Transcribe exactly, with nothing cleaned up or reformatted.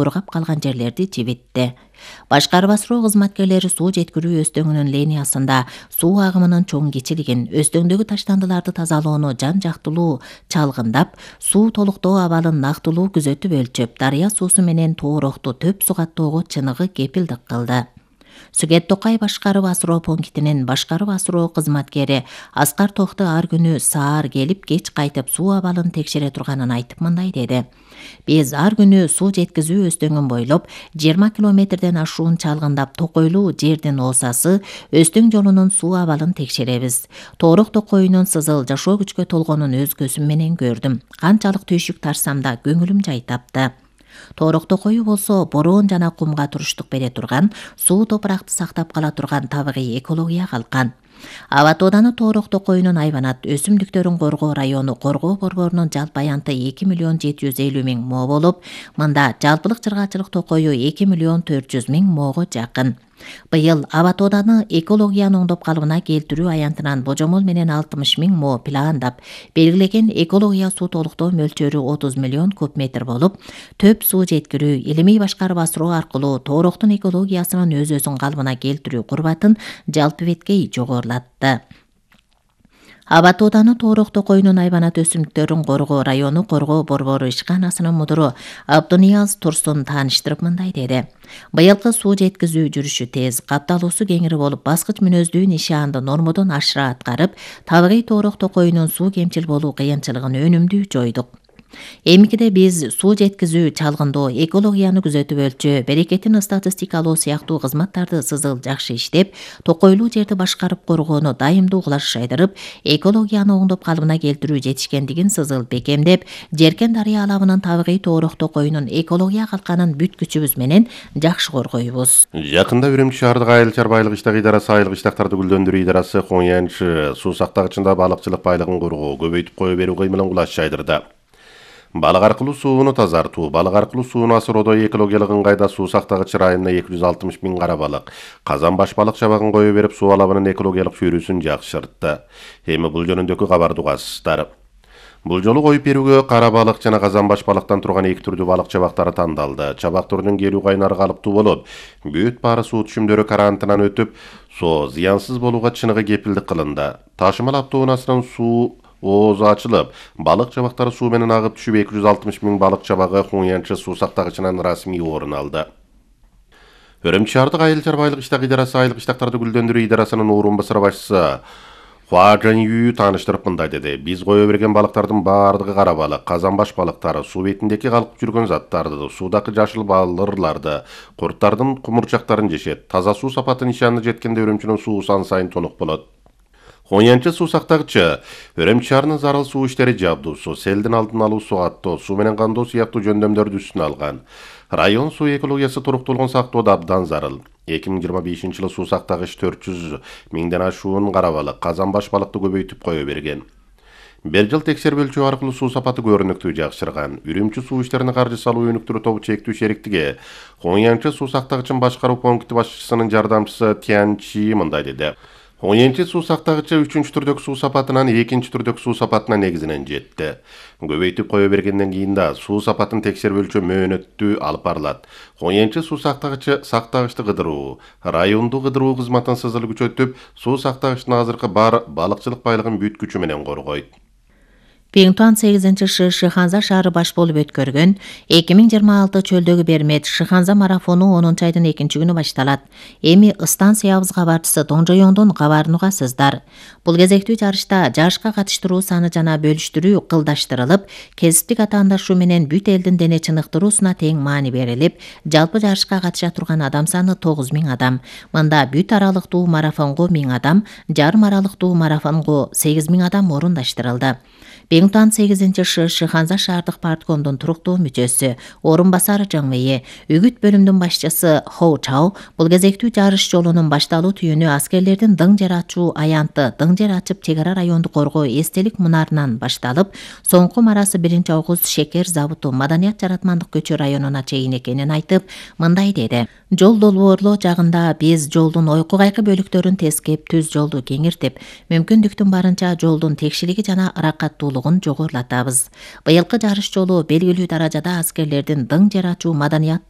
кургап калган жерлерди жибитти. Башкарып асыруу кызматкерлери суу жеткирүү өстөңүнүн линиясында суу агымынын чоң кичилигин, өстөңдөгү таштандыларды тазалоону жан-жактылуу чалгындап, суу толуктоо абалын нактылуу күзөтүп өлчөп, дарыя суусу менен Тоорохту төп суу каттоого чыныгы кепилдик кылды. Сүгет Токай башкарып асыроо пунктинин башкарып асыроо кызматкери Аскар Тохты ар күнү саар келип, кеч кайтып суу абалын текшере турганын айтып мындай деди. Биз ар күнү суу жеткизүү өстөңүн бойлоп жыйырма километрден ашуун чалгындап Токойлуу жердин оосасы өстөң жолунун суу абалын текшеребиз. Тоорох Токойунун сызыл жашоо күчкө толгонун өз көзүм менен көрдүм. Канчалык түйшүк тарсам да көңүлүм жай тапты. Тоорох Токою болсо бороон жана кумга туруштук бере турган, суу топуракты сактап кала турган табигый экология калкан. Аба тооданы Тоорох Токоюнун айванат өсүмдүктөрүн коргоо району коргоо борборунун жалпы аянты эки миллион жети жүз элүү миң мо болуп, мында жалпылык чыргачылык токою эки миллион төрт жүз миң мого жакын. Быйыл аба тооданы экологияны оңдоп калыбына келтирүү аянтынан божомол менен алтымыш миң мо пландап, белгилеген экология суу толуктоо мөлчөрү отуз миллион куб метр болуп, төп суу жеткирүү, илимий башкарып асыроо аркылуу Тоорохтун экологиясынын өз-өзүн калыбына келтирүү курбатын жалпы беткей жогорулатты. Аба тооданы Тоорох Токоюнун айванат өсүмдүктөрүн коргоо району коргоо борбору ишканасынын мудуру Абдунияз Турсун тааныштырып мындай деди. Быйылкы суу жеткизүү жүрүшү тез, капталуусу кеңири болуп, баскыч мүнөздүү нишаанды нормодон ашыра аткарып, табигый Тоорох Токоюнун суу кемчил болуу кыйынчылыгын өнүмдүү жойдук. Эмикиде биз суу жеткизүү, чалгындоо, экологияны күзөтүп өлчөө, берекетин статистикалоо сыяктуу кызматтарды сызыл жакшы иштеп, Токойлуу жерди башкарып коргоону дайымдуу кулаш жайдырып, экологияны оңдоп калыбына келтирүү жетишкендигин сызыл бекемдеп, Жеркен дарыя алабынын табигый Тоорох Токоюнун экология калканын бүт күчүбүз менен жакшы коргойбуз. Жакында Үрүмчү шаардык айыл чарбайлык иштак идарасы айылык иштактарды гүлдөндүрүү идарасы Коңянчы суу сактагычында балыкчылык байлыгын коргоо, көбөйтүп кое берүү кыймылын кулаш жайдырды. Балык аркылуу сууну тазартуу, балык аркылуу сууну асыроодо экологиялык ыңгайда суу сактагыч районуна эки жүз алтымыш миң кара балык, казан баш балык чабагын кое берип, суу алабынын экологиялык чөйрөсүн жакшыртты. Эми бул жөнүндөгү кабарды угасыздар. Бул жолу коюп берүүгө кара балык жана казан баш балыктан турган эки түрдүү балык чабактары тандалды. Чабак түрүнүн келүү кайнары калыптуу болуп, бүт баары суу түшүмдөрү карантынан өтүп, соо зыянсыз болууга чыныгы кепилдик кылынды. Ташымал автоунаасынын суу оозу ачылып, балык чабактары суу менен агып түшүп, эки жүз алтымыш миң балык чабагы Коңянчы суу сактагычынан расмий орун алды. Үрүмчү шаардык айыл чарбайлык иштак идарасы айылык иштактарды гүлдөндүрүү идарасынын орун басары башчысы Хуа Жанью тааныштырып мындай деди. Биз кое берген балыктардын баардыгы кара балык, казан баш балыктары, суу бетиндеги калкып жүргөн заттарды, суудагы жашыл балырларды, курттардын кумурчактарын жешет. Таза суу сапаты нишаанына жеткенде Үрүмчүнүн суу сан сайын тонук болот. Коңянчы суу сактагычы Үрүмчү шаарынын зарыл суу иштери жабдуусу, селдин алдын алуу, сугаттоо, суу менен кандоо сыяктуу жөндөмдөрдү үстүнө алган. Район суу экологиясы туруктуулугун сактоодо абдан зарыл. эки миң жыйырма бешинчи жылы суу сактагыч төрт жүз миңден ашуун кара балык, казан баш балыкты көбөйтүп кое берген. Бир жыл текшерип өлчөө аркылуу суу сапаты көрүнүктүү жакшырган. Үрүмчү суу иштерине каржы салуу өнүктүрүү тобу чектүү шериктиги Коңянчы суу сактагычын башкаруу пункти башчысынын жардамчысы Тян Чи мындай деди. Коңянчы суу сактагычы үчүнчү түрдөгү суу сапатынан экинчи түрдөгү суу сапатына негизинен жетти. Көбөйтүп кое бергенден кийин да суу сапатын текшерип өлчөө мөөнөттүү алып барылат. Коңянчы суу сактагычы сактагычты кыдыруу, райондуу кыдыруу кызматын сызыл күчөтүп, суу сактагычтын азыркы бар балыкчылык байлыгын бүт күчү менен коргойт. Пиңтуан сегизинчи шы Шыханза шаары баш болуп өткөргөн эки миң жыйырма алты чөлдөгү бермет Шыханза марафону онунчу айдын экинчи күнү башталат. Эми станциябыз кабарчысы Тоңжоёңдун кабарын угасыздар. Бул кезектүү жарышта жашка катыштыруу саны жана бөлүштүрүү кылдаштырылып, кесиптик атаандашуу менен бүт элдин дене чыныктыруусуна тең маани берилип, жалпы жарышка катыша турган адам саны тогуз миң адам. Мында бүт аралыктуу марафонго миң адам, жарым аралыктуу марафонго сегиз миң адам орундаштырылды. Пиңтуан сегизинчи шы Шыханза шаардык парткомдун туруктуу мүчөсү, орун басары Жаңвейе, үгүт бөлүмдүн башчысы Хоу Чао бул кезектүү жарыш жолунун башталуу түйүнү аскерлердин дың жер ачуу аянты дың жер ачып чек ара районду коргоо эстелик мунарынан башталып, соңку марасы биринчи огуз шекер заводу Маданият Жаратмандык көчө районуна чейин экенин айтып, мындай деди. Жол долбоорлоо жагында биз жолдун ойку кайкы бөлүктөрүн тескеп, түз жолду кеңиртип, мүмкүндүктүн барынча жолдун текшилиги жана ыракаттуулугун жогорулатабыз. Быйылкы жарыш жолу белгилүү даражада аскерлердин дың жер ачуу маданият